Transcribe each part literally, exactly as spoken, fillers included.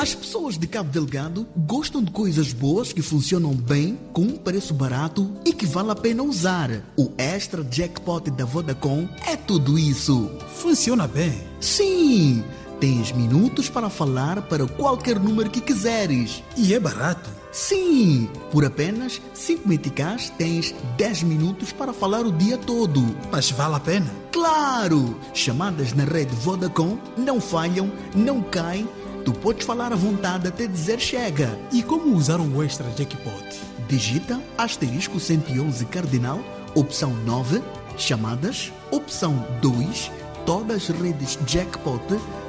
As pessoas de Cabo Delgado gostam de coisas boas que funcionam bem, com um preço barato e que vale a pena usar. O Extra Jackpot da Vodacom é tudo isso. Funciona bem? Sim! Tens minutos para falar para qualquer número que quiseres. E é barato? Sim! Por apenas cinco meticais tens dez minutos para falar o dia todo. Mas vale a pena? Claro! Chamadas na rede Vodacom não falham, não caem. Tu podes falar à vontade até dizer chega. E como usar o Extra Jackpot? Digita asterisco cento e onze cardinal, opção nove, chamadas, opção dois, todas redes Jackpot,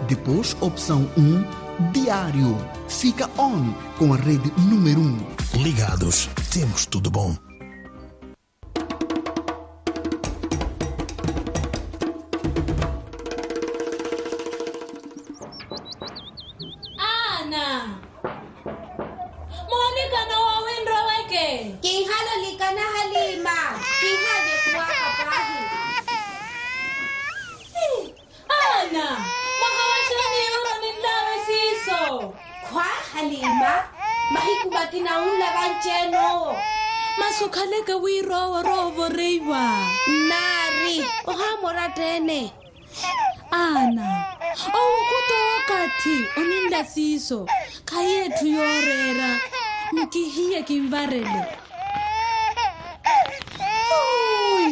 depois opção um, diário. Fica on com a rede número um. Ligados, temos tudo bom. Ana! Moolikana woowi nroweke. Kinhalolikana Halima. Kinhale kuwaka pahi. Ana! Mwahawaxani yuuro ninlawe siiso. Khwa Halima. Mahiku makina unla vanci-ene owo. Masi okhaleke wira owo orowa ovoreiwa. Nnaari. Ohaamora atta-ene. Ana, owo okhuta okathi oninla siiso. Khayi etthu yooreera. Nkihiye kinvarele.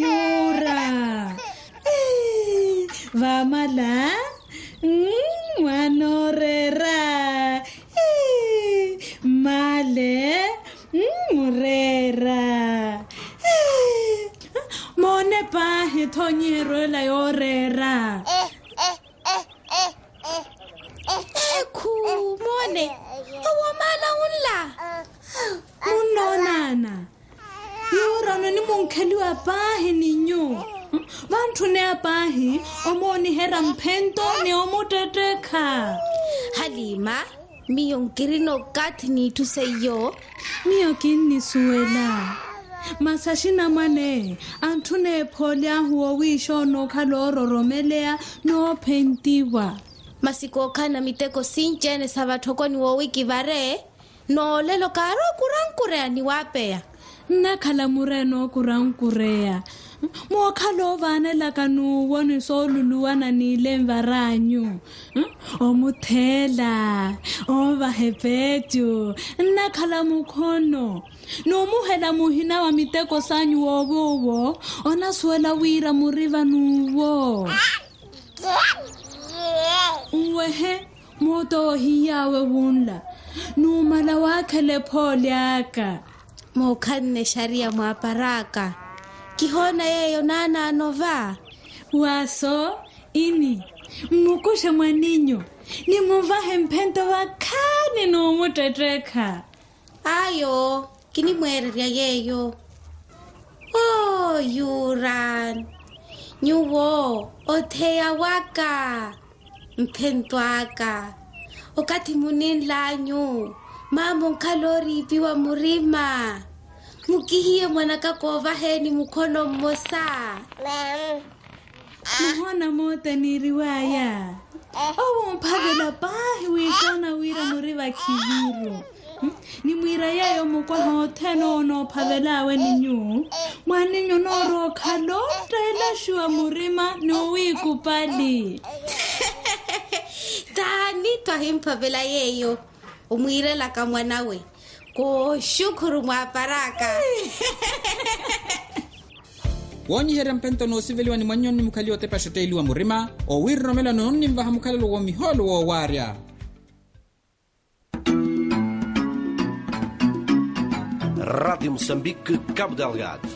Yuura. Vamala. Mwaana ooreera. Male. Mureera. Moone paahi tho onyiheryo ela yooreera. Ekhu. Moone. Owo maala unla. Munnoona ana. Yuura ononimunkheliwa paahi ni nyuwo. Vantthuneya paahi omooniherya mphento ni omuttettekha. Halima. Miyo nkirina okathi n'itthu seiyo. Miyo kinnisuwela. Masi axinamwane antthuna ephooly'ahu woowiixa onookhala oororomeleya noophentiwa. Masi kookhalana miteko sinci-ene sa vatthokoni woowi kivare. Noolelo kaari okurankureya ni waapeya. Nnakhala murena okurankureya. Mookhala oovaanelaka n'uwo ni sooluluwana n'ile nvar'anyu. Omutheela. Oovaha epeecu. Nnakhala mukhono. N'umuhela muhina wa miteko s'anyu woowi owo. Onasuwela wira muri van'uwo. Nwehe. Moota owo ohiy'awe wunla. Numala waakhela ephooli aka. Mookhanne exariya mwaapar'aka. Kihoona yeeyo naanaano va. Waaso ini. Mmukuxe mwaninyu. Nimuvahe mphento vakhaani numuttettekha. Ayo. Kinimweererya yeeyo. Oo yuran. Nyuwo otheya waka. Mphento aka. Okathi muninl'anyu maama onkhala ooriipiwa murima. Mukihiye mwanaka koovaheni mukhono mmosa. Muhoona moota eniiriw'aya. Owo omphavela paahi wiixoona wira muri vakhiviru. Nimwiira yeeyo mukwaha othene owo onoophavel'awe ni nyuwo. Mwaninyu onoorowa okhala ottelaxiwa murima ni owiikupali. Taani twahimphavela yeeyo. Omwiirelaka mwanawe. Kooxukhuru mwaapar'aka. Woonyiherya mphento noosiveliwa ni mwannyoni mukhaliwa otepaxa otteeliwa murima owiiroromela noonnimvaha mukhalelo woomihoolo woowaarya. Rádio Moçambique, Cabo Delgado.